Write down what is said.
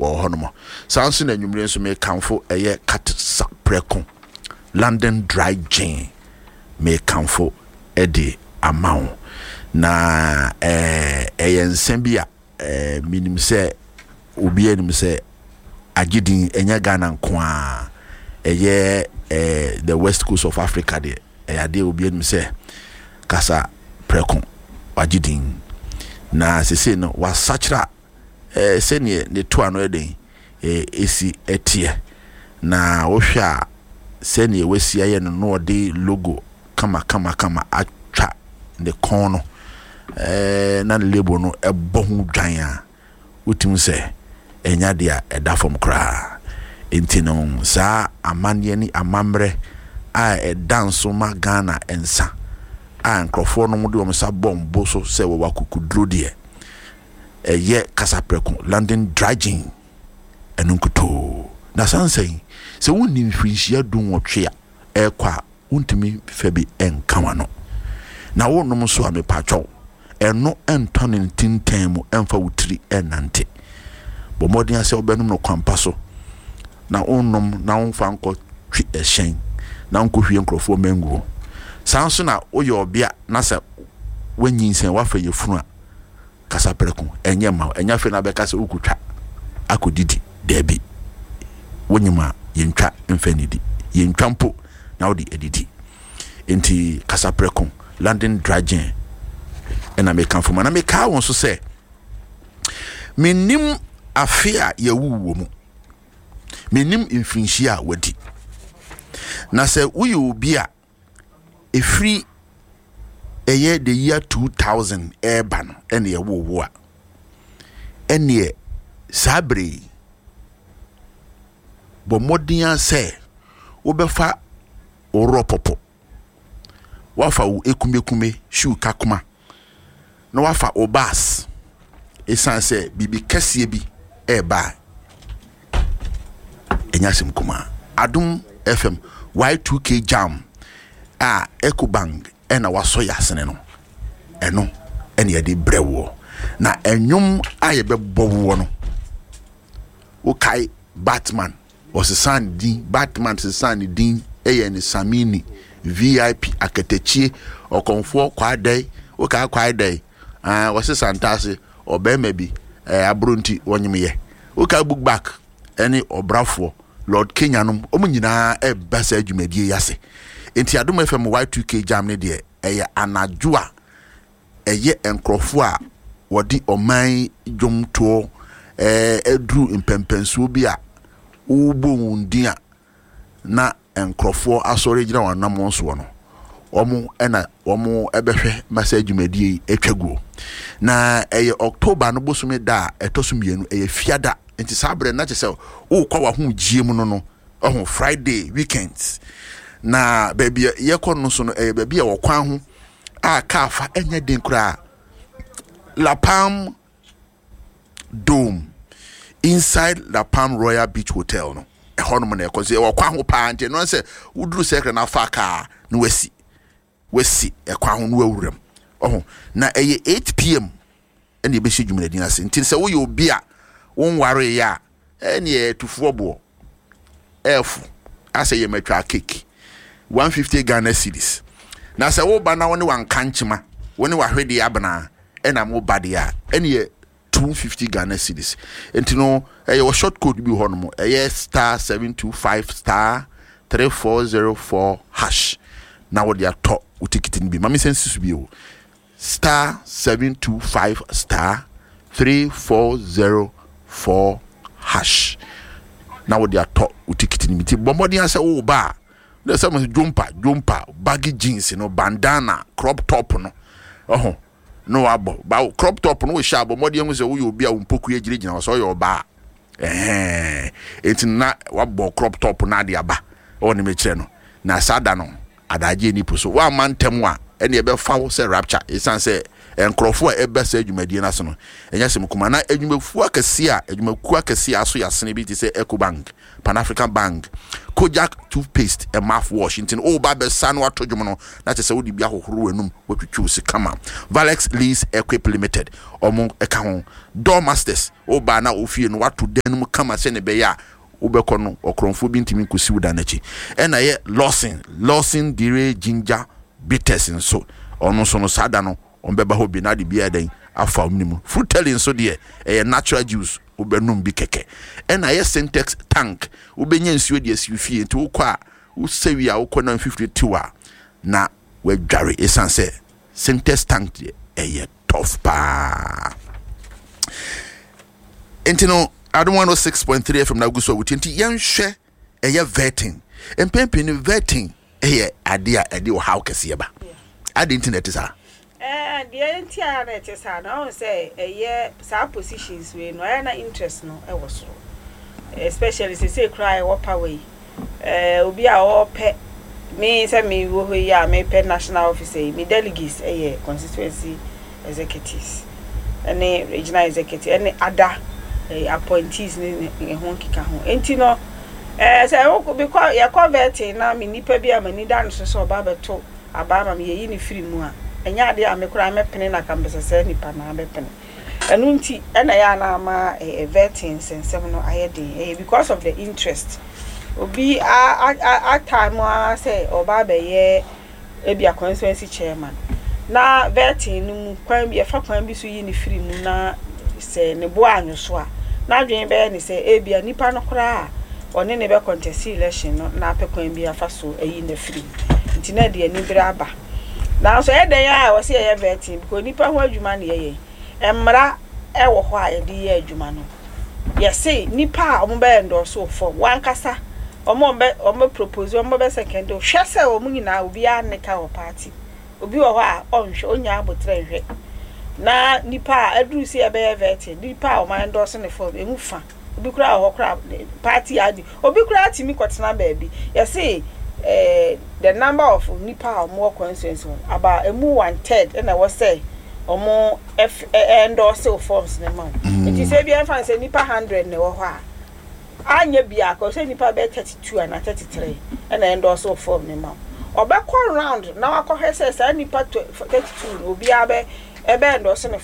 wɔ hɔnom. Saa nso na anwummere nso mekamfo ɛyɛ Katsaprɛko London Dry Gin mekamfo de ama wo. Na ɛyɛ nsa bi a menim sɛ obiara nim sɛ agye din, ɛnyɛ Ghana nko ara, ɛyɛ the West Coast of Africa deɛ, ɛyɛ adeɛ obiara nim sɛ kasa prɛko wagye din. Na sesei no wasakyera sɛdeɛ ne toa no ɛdɛn ɛsi ɛteɛ. Na wohwɛ a sɛdeɛ wasi ayɛ no na ɔde logo kama kama kama atwa ne kɔn no na ne label no ɛbɔ ho dwan a, wotumi sɛ ɛnyɛ adeɛ a ɛda fam koraa. Nti no saa amanneɛ ne amammerɛ a ɛda nso ma Ghana nsa a nkurɔfoɔ nom de wɔn nsa bɔ mbo so sɛ wɔwɔ akokoduro deɛ, ɛyɛ kasaprɛko, London Dry Gin, ɛno nkutoo. Na saa nsa yi, sɛ wonni mfirinhyia dunwɔtwe a ɛrekɔ a, wontumi fa bi nka w'ano. Na wonom nso a, mepakyɛw, ɛno ntɔ ne ntintan mu mfa wo tiri nnante. Bɔ mmɔden ara sɛ wobɛnom no kwampa so, na wonnom na womfa nkɔtwe ɛhyɛn na wonkɔhwie nkurɔfoɔ mma nguo. Saa nso na woyɛ ɔbea na sɛ woanyinsɛn, woafa yafunu a, Kasa prɛko, ɛnyɛ mma wo. Ɛnyɛ afei na abɛka sɛ wokotwa akɔdidi. Daabi. Wonyim a, yɛntwa mfa nnidi. Yɛntwa mpo na wode adidi. Enti kasa prɛko, London Dry Gin ɛna mekamfo ma. Na mekaa wɔn nso sɛ, mennim afe a yɛwoo wɔ mu. Mennim mfirinhyia a wadi. Na sɛ woyɛ obi a ɛfiri ɛyɛ the year 2000 ɛreba no ɛna ɛwoo wo a, ɛneɛ saa berɛ yi bɔ mmɔden ara sɛ wobɛfa wo rɔpɔpɔ, woafa wo ekumekume shoe kakoma na wafa wo bus ɛsiane sɛ biribi kɛseɛ bi ɛreba a ɛnyɛ asɛm kumaa. Adom FM Y2K Jam a Ecobank ɛna wasɔ yɛ asene no, ɛno ɛna yɛde brɛ woɔ. Na ɛnwom a yɛbɛbɔ woɔ no, wokae Batman Ɔsesaa ne din, Batman sesaa ne din yɛɛ no Samini, VIP, Akatakyie, Ɔkɔmfoɔ, Kwaadɛe, wokaa Kwaadɛe? Ah, wɔse Santase, ɔbarima bi, eh, aboro nti wɔnyemyɛ. Wokaa Book Back ne Ɔbrafoɔ, Lord Kenya nom, wɔn nyinaa ɛreba saa dwumadie yi ase. Nti Adom FM Y2K Jam no deɛ, ɛyɛ anadwo a ɛyɛ nkurɔfoɔ a wɔde ɔman yi dwomtoɔ aduru mpɛnpɛnsoɔ bi a wobɔ wɔn din a na nkurɔfoɔ asɔre agyina wɔn anammɔn soɔ no, wɔn na wɔn bɛhwɛ ma saa dwumadie yi atwa guo. Na ɛyɛ October no bosome da a ɛtɔ so mmienu, ɛyɛ fiada. Nti saa berɛ no na kyerɛ sɛ wokɔ w'ahomegyeɛ mu no no, ɔho Friday weekends. Na baabi a yɛkɔ no so no, ɛyɛ baabi a wɔkwan ho a kaa fa nyɛ den koraa. La Palm Dome inside La Palm Royal Beach Hotel no ɛhɔnom na ɛkɔ so ɛwɔ kwan ho paa nti ɛno sɛ woduru sɛkra na afa kaa na wasi wasi ɛkwan ho na wawura mu ɔho na ɛyɛ 8 pm ɛna ɛbɛhyɛ dwumadin ase nti sɛ woyɛ obi a wonwareeɛ a Ɛneɛ tufoɔ boɔ ɛɛfo asɛ yɛ matwaa cake 150 Ghana cedis na sɛ woba na wone wankankyema wone wahwedeɛ abena ɛna mo ba deɛ a ɛneɛ 250 Ghana cedis nti no ɛyɛ wɔ short code bi hɔ nom ɛyɛ star 725 star 3404 hash na wode atɔ wo tikiti no bi ma me sɛ nsi so bio. Star 725 star 3404 hash na wode atɔ wo tikiti no bi. Nti bɔ mmɔden sɛ woba a na sɛ mo jumper jumper baggy jeans no bandana crop top no ɔho na wabɔ ba crop top no wohyɛ abɔ mmɔden ho sɛ woyɛ obi a wo mpokua gyinagyina hɔ sɛ ɔyɛ ɔbaa ɛhɛn enti na wabɔ crop top no ade aba ɛwɔ ne mekyerɛ no na saa da no Adagyeɛ nni po so. Woamma ntɛm a, ɛnneɛ ɛbɛfa wo sɛ rapture, ɛsiane sɛ Nkurɔfoɔ a ɛba saa dwumadie no ase no, ɛnyɛ asɛm kumaa. Na adwumakuo akɛseɛ a adwumakuo akɛseɛ a aso yɛ asene bi te sɛ Ecobank, Pan African Bank, Kojak toothpaste and mouthwash nti no woba abɛsa no ato dwom no na kyerɛ sɛ wode bi ahohoro w'anum watwitwi wo se kama. Valex Lease Equip Limited ɔmo ɛka ho. Door Masters woba na ofie no wato dan no mu kama sɛnea ɛbɛyɛ a wobɛkɔ no ɔkorɔmfoɔ bi ntumi nkɔsi wo dan no akyi. Ɛna ɛyɛ Lawson, Lawson Dire Ginger Bitters nso ɔno nso no saa da no wɔbɛba hɔ bi na ade bi ayɛ dɛn afa wɔn mu. Fruteli nso deɛ ɛyɛ natural juice wobɛnom bi kɛkɛ. Ɛna ɛyɛ Sintex tank wobɛnya nsuo de asi wo fie nti wokɔ a wosɛ wie a wokɔ na mfifire tew a na wadware ɛsiane sɛ Sintex tank deɛ ɛyɛ tough paa. Nti no Adom 106.3 FM na agu so a wotie nti yɛnhwɛ ɛyɛ vetting. Mpɛn pii no vetting yɛ adeɛ a ɛde ɔhaw kɛseɛ ba. Adɛn nti na ɛte saa? Ɛɛ deɛ nti a na ɛte saa no, ɔhu sɛ ɛyɛ saa positions wei no, ɛyɛ na interest no ɛwɔ soro. Especially sesei koraa ɛwɔ power yi. Ɛɛ obi a ɔpɛ me sɛ me wɔ hɔ yi a mepɛ national officer yi, me delegates ɛyɛ constituency executives ɛne regional executive ɛne other appointees ne ne ho nkeka ho. Nti no, Ɛɛ sɛ wo mekɔ yɛkɔ vetting na me nipa bi a m'ani da no so sɛ ɔba abɛto aba ama me yɛyi no firi mu a, ɛnyɛ adeɛ a me koraa mɛpene na ka mepɛ sɛ saa nipa no ara bɛpene. Ɛno nti ɛna ɛyɛ a na ama ɛɛ vetting nsɛnsɛm no ayɛ den. Ɛyɛ because of the interest. Obi a a a time ara sɛ ɔba abɛyɛ ebia constituency chairman na vetting no mu kwan bi yɛfa kwan bi so yi no firi mu na sɛ ne bo anwo so a, n'adwene bɛyɛ ne sɛ ebia nipa no koraa a ɔne ne bɛ contest election no na apɛ kwan bi afa so ayi no afiri mu. Nti na ɛde anibere aba. Nanso ɛyɛ dɛn a ɛwɔ sɛ yɛyɛ vetting because nipa ho adwuma na yɛyɛ. Mmara ɛwɔ hɔ a yɛde yɛ adwuma no. Yɛse nipa a wɔbɛ endorse wo form, wankasa wɔn a wɔbɛ wɔbɛ propose wɔn bɛ second hwɛ sɛ wɔn nyinaa obiara nne ka wɔ party. Obi wɔ hɔ a ɔnhwɛ ɔnnya abotrɛ nhwɛ. Na nipa a aduru sɛ yɛbɛyɛ vetting, nipa a wɔn endorse ne form emu fa. Obi koraa wɔ hɔ koraa party adi. Obi koraa tumi kɔtena baabi. Yɛse eh, the number of nipa a wɔn wɔ constituency hɔ about emu one third ɛna ɛwɔ sɛ wɔn endorse wo forms no ma wo. Nti sɛ ebi ɛmfa no sɛ nipa 100 na ɛwɔ hɔ a, anyɛ biako sɛ nipa bɛyɛ 32 anaa 33 ɛna endorse wo form no ma wo. Ɔbɛkɔ round na wakɔhwɛ sɛ saa nipa 32 no obiara bɛ ɛbɛ endorse ne form.